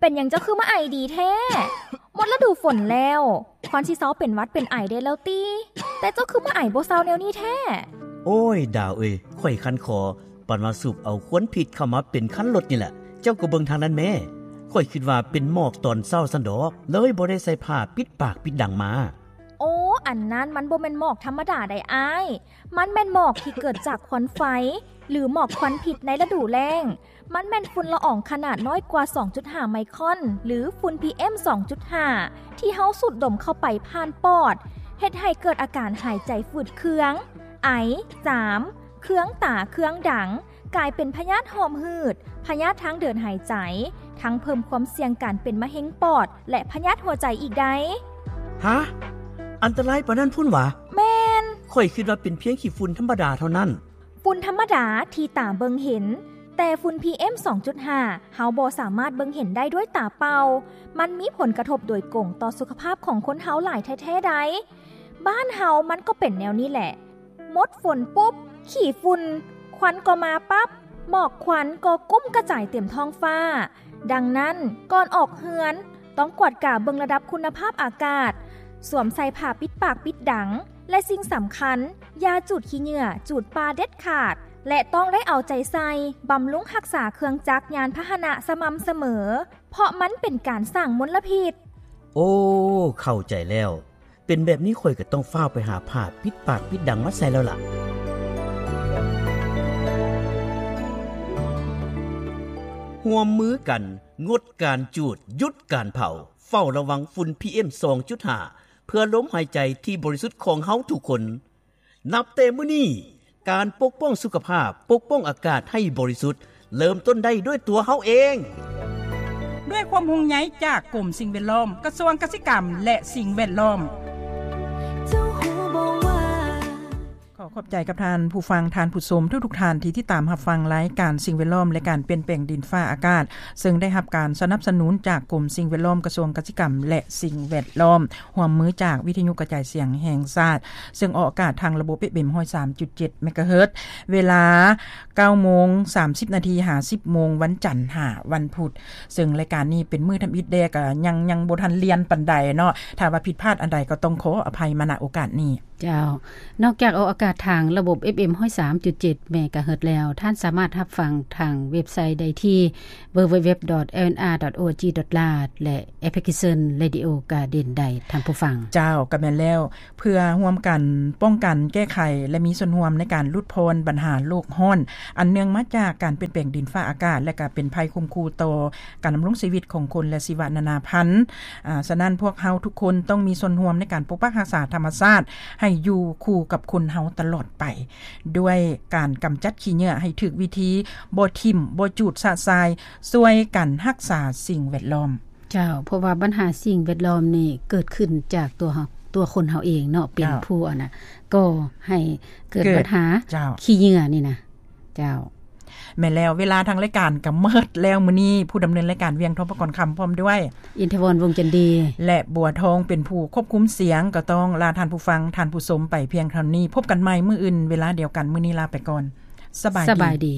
ປັນຫຍັງເຈົ້າຄືມາໄອດີແທ້? ໝົດລະດູຝົນແລ້ວ ຄວນຊິເຊົາເປັນຫວັດເປັນໄອໄດ້ແລ້ວຕິ ແຕ່ເຈົ້າຄືມາໄອບໍ່ເຊົາແນວນີ້ແທ້? ໂອ້ຍ ດາວເອີຍ ຂ້ອຍຄັນຄໍ ປານວ່າສູບເອົາຄວັນພິດເຂົ້າມາເປັນຄັນລົດນີ້ແຫຼະ. ເຈົ້າກໍເບິ່ງທາງນັ້ນແມ້. ຂ້ອຍຄິດວ່າເປັນໝອກຕອນເຊົ້າຊັ້ນດອກ ເລີຍບໍ່ໄດ້ໃສ່ຜ້າປິດປາກປິດດັງມາ. ໂອ້ ອັນນັ້ນມັນບໍ່ແມ່ນໝອກທຳມະດາໃດ໋ອ້າຍ. ມັນແມ່ນໝອກທີ່ເກີດຈາກຄວັນໄຟ ຫຼື ໝອກຄວັນພິດໃນລະດູແລ້ງ. ມັນແມ່ນຝຸ່ນລະອອງຂະໜາດນ້ອຍກວ່າສອງຈຸດຫ້າໄມຄອນ ຫຼື ຝຸ່ນ ພີເອັມ ສອງຈຸດຫ້າ ທີ່ເຮົາສູດດົມເຂົ້າໄປຜ່ານປອດ ເຮັດໃຫ້ເກີດອາການຫາຍໃຈຝືດເຄືອງ, ໄອ, ຈາມ, ເຄືອງຕາ, ເຄືອງດັງ, ກາຍເປັນພະຍາດຫອບຫືດ, ພະຍາດທາງເດີນຫາຍໃຈ, ທັງເພີ່ມຄວາມສ່ຽງການເປັນມະເຮັງປອດ ແລະ ພະຍາດຫົວໃຈອີກໃດ໋. ຫາ? ອັນຕະລາຍປານນັ້ນພຸ້ນຫວາ? ແມ່ນ. ຂ້ອຍຄິດວ່າເປັນພຽງຂີ້ຝຸ່ນທຳມະດາເທົ່ານັ້ນ. ຝຸ່ນທຳມະດາທີ່ຕາເບິ່ງເຫັນ, ແຕ່ຝຸ່ນ ພີເອັມ ສອງຈຸດຫ້າ ເຮົາບໍ່ສາມາດເບິ່ງເຫັນໄດ້ດ້ວຍຕາເປົ່າ. ມັນມີຜົນກະທົບໂດຍກົງຕໍ່ສຸຂະພາບຂອງຄົນເຮົາຫຼາຍແທ້ໆໃດ໋. ບ້ານເຮົາມັນກໍເປັນແນວນີ້ແຫຼະ. ໝົດຝົນປຸບ, ຂີ້ຝຸ່ນ, ຄວັນກໍມາປັບ, ໝອກຄວັນກໍກຸ້ມກະຈາຍເຕັມທ້ອງຟ້າ. ດັ່ງນັ້ນ, ກ່ອນອອກເຮືອນ, ຕ້ອງກວດກາເບິ່ງລະດັບຄຸນນະພາບອາກາດ, ສວມໃສ່ຜ້າປິດປາກປິດດັງ ແລະ ສິ່ງສຳຄັນ, ຢ່າຈູດຂີ້ເຫຍື້ອ, ຈູດປ່າເດັດຂາດ ແລະ ຕ້ອງໄດ້ເອົາໃຈໃສ່, ບຳລຸງຮັກສາເຄື່ອງຈັກຍານພາຫະນະສະໝ່ຳສະເໝີ, ເພາະມັນເປັນການສ້າງມົນລະພິດ. ໂອ້ ເຂົ້າໃຈແລ້ວ. ເປັນແບບນີ້ຂ້ອຍກໍຕ້ອງຟ້າວໄປຫາຜ້າປິດປາກປິດດັງມາໃສ່ແລ້ວລະ. ຮ່ວມມືກັນ ງົດການຈູດ, ຢຸດການເຜົາ, ເຝົ້າລະວັງຝຸ່ນ ພີເອັມ ສອງຈຸດຫ້າ ເພື່ອລົມຫາຍໃຈທີ່ບໍລິສຸດຂອງເຮົາທຸກຄົນ. ນັບແຕ່ມື້ນີ້, ການປົກປ້ອງສຸຂະພາບ, ປົກປ້ອງອາກາດໃຫ້ບໍລິສຸດ, ເລີ່ມຕົ້ນໄດ້ດ້ວຍຕົວເຮົາເອງ. ດ້ວຍຄວາມຫ່ວງໃຍຈາກກົມສິ່ງແວດລ້ອມ, ກະຊວງກະສິກຳ ແລະ ສິ່ງແວດລ້ອມ. ຂໍຂອບໃຈກັບທ່ານຜູ້ຟັງ, ທ່ານຜູ້ຊົມທຸກໆທ່ານທີ່ຕິດຕາມຮັບຟັງລາຍການສິ່ງແວດລ້ອມ ແລະ ການປ່ຽນແປງດິນຟ້າອາກາດ, ເຊິ່ງໄດ້ຮັບການສະໜັບສະໜູນຈາກກົມສິ່ງແວດລ້ອມ, ກະຊວງກະສິກຳ ແລະ ສິ່ງແວດລ້ອມ. ຮ່ວມມືຈາກວິທະຍຸກະຈາຍສຽງແຫ່ງຊາດ ເຊິ່ງອອກອາກາດທາງລະບົບ ເອຟເອັມ ຮ້ອຍສາມຈຸດເຈັດ ເມກາເຮີດ ເວລາ ເກົ້າໂມງ ສາມສິບນາທີ ຫາ ສິບໂມງ ວັນຈັນ ຫາ ວັນພຸດ. ເຊິ່ງລາຍການນີ້ເປັນມື້ທຳອິດແດ່ ກະຍັງ ຍັງບໍ່ທັນລຽນປານໃດເນາະ. ຖ້າວ່າຜິດພາດອັນໃດກໍຕ້ອງຂໍອະໄພມາ ນະ ໂອກາດນີ້. ເຈົ້າ. ນອກຈາກອອກອາກາດທາງລະບົບ ເອຟເອັມ ຮ້ອຍສາມຈຸດເຈັດ ເມກາເຮີດແລ້ວ, ທ່ານສາມາດຮັບຟັງທາງເວັບໄຊໄດ້ທີ່ ดัບເບິນຢູດັບເບິນຢູດັບເບິນຢູ ດອດ ແອລເອັນອາ ດອດ ໂອ ອາ ຈີ ດອດ ລາດ ແລະ ແອບພລິເຄຊັນ ເຣດິໂອ ກາເດີນ ໄດ້ ທ່ານຜູ້ຟັງ. ເຈົ້າ, ກໍແມ່ນແລ້ວ. ເພື່ອຮ່ວມກັນປ້ອງກັນ, ແກ້ໄຂ ແລະ ມີສ່ວນຮ່ວມໃນການຫຼຸດຜ່ອນບັນຫາໂລກຮ້ອນ ອັນເນື່ອງມາຈາກການປ່ຽນແປງດິນຟ້າອາກາດ ແລະ ກໍເປັນໄພຂົ່ມຂູ່ຕໍ່ການດຳລົງຊີວິດຂອງຄົນ ແລະ ຊີວະນານາພັນ. ອາ, ສະນັ້ນ, ພວກເຮົາທຸກຄົນຕ້ອງມີສ່ວນຮ່ວມໃນການປົກປັກຮັກສາທຳມະຊາດໃຫ້ຢູ່ຄູ່ກັບຄົນເຮົາຕະຫຼອດໄປ, ດ້ວຍການກຳຈັດຂີ້ເຫຍື້ອໃຫ້ຖືກວິທີ, ບໍ່ຖິ້ມ, ບໍ່ຈູດຊະຊາຍ, ຊ່ວຍກັນຮັກສາສິ່ງແວດລ້ອມ. ເຈົ້າ, ເພາະວ່າບັນຫາສິ່ງແວດລ້ອມນີ້ເກີດຂຶ້ນຈາກຕົວເຮົາ, ຕົວຄົນເຮົາເອງເນາະ, ເປັນ ເຈົ້າ ຜູ້ອັນນະ ກໍ່ໃຫ້ເກີດ ເກີດບັນຫາ ເຈົ້າ ຂີ້ເຫຍື້ອນີ້ນະ. ເຈົ້າ. ແມ່ນແລ້ວ, ເວລາທາງລາຍການກໍໝົດແລ້ວ. ມື້ນີ້ຜູ້ດຳເນີນລາຍການ ວຽງ ທອງປະກອນຄຳ ພ້ອມດ້ວຍ ອິນທະວອນ ວົງຈັນດີ ແລະ ບົວທອງ ເປັນຜູ້ຄວບຄຸມສຽງ, ກໍຕ້ອງລາທ່ານຜູ້ຟັງ, ທ່ານຜູ້ຊົມໄປພຽງເທົ່ານີ້. ພົບກັນໃໝ່ມື້ອື່ນເວລາດຽວກັນ. ມື້ນີ້ລາໄປກ່ອນ. ສະບາຍດີ. ສະບາຍດີ.